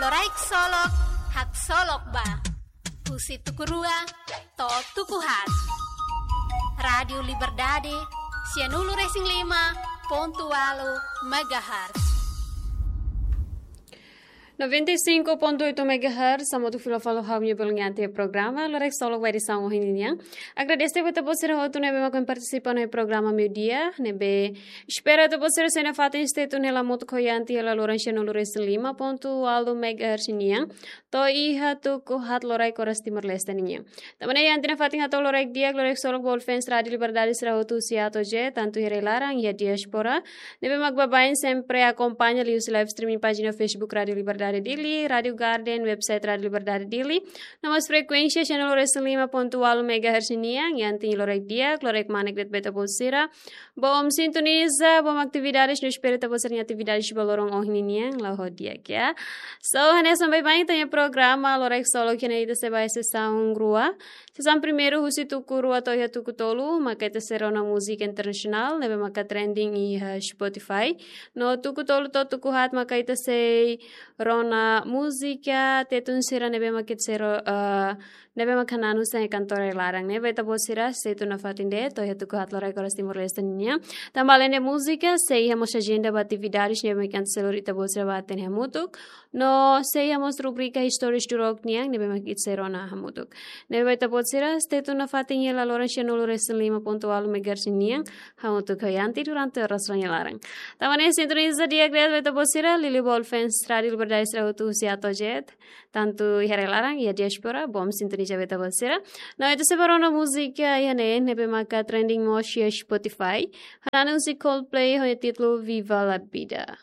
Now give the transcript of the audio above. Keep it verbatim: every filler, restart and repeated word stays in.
Loraik Solok, haksolok ba. Husi tuku rua to'o tuku haat. Rádiu Liberdade, sianulu-resin-lima pontu ualu megahertz. Noventa e cinco ponto oito megahertz, hamutuk fila fali ho ha'u-nia belun iha programa Loraik Solok ba edisaun ohin nian. Agradese ba ita-boot sira hotu ne'ebé mak partisipa iha programa meiudia, ne'ebé espera ita-boot sira sei nafatin stay tune hela hamutuk ho Yanti hela loron sianulu-resin-lima pontu ualu megahertz nian to'o iha tuku haat loraik oras Timor-Leste nian. Tanba ne'e Yanti nafatin hato'o loraik di'ak, loraik solok ba all fans Rádiu Liberdade sira hotu husi A to'o Z, tantu iha rai-laran, iha diáspora, ne'ebé mak baibain sempre akompaña liuhusi live streaming pájina Facebook Rádiu Liberdade Dili, Rádiu Garden, website Rádiu Liberdade Dili, no mós frekuénsia sianulu-resin-lima pontu ualu megahertz nian. Yanti loraik di'ak, loraik manek de'it ba ita-boot sira. Bom sintoniza, bom atividades, no espera ita-boot sira-nia atividades ba loron ohin nian la'o ho di'ak, ya. So, hanesan baibain ita-nia programa Loraik Solok iha ne'e ita sei ba iha sesaun rua. Sesaun primeiru husi tuku rua to'o iha tuku tolu, maka ita sei rona múzika internasionál, ne'ebé maka trending iha Spotify. No tuku tolu to'o tuku haat maka ita sei rona múzika Tetun sira ne'ebé maka ita sei ro-, eh, ne'ebé maka hananu sai kantor rai-laran. Ne'ebé ita-boot sira sei tun nafatin de'it to'o iha tuku haat loraik oras Timor-Leste nian. Tanba alende múzika, sei iha mós ajenda ba atividades ne'ebé maka ita sei lori ita-boot sira ba hatene hamutuk. No sei iha mós rubrika Histórias do Rock nian, ne'ebé mak ita sei rona hamutuk. Ne'ebé ita-boot sira, stay tune nafatin hela loron sianulu-resin-lima pontu ualu megahertz nian, hamutuk ho Yanti durante oras rai-laran. Tanba ne'e sintoniza di'ak de'it ba ita-boot sira, liuliu ba all fans Rádiu Liberdade sira hotu husi A to'o Z, tantu iha rai-laran, iha diáspora, bom sintoniza ba ita-boot sira. No ita sei ba rona múzika iha ne'e, ne'ebé maka trending mós iha Spotify. Hananu husi Coldplay, ho títulu Viva la Vida.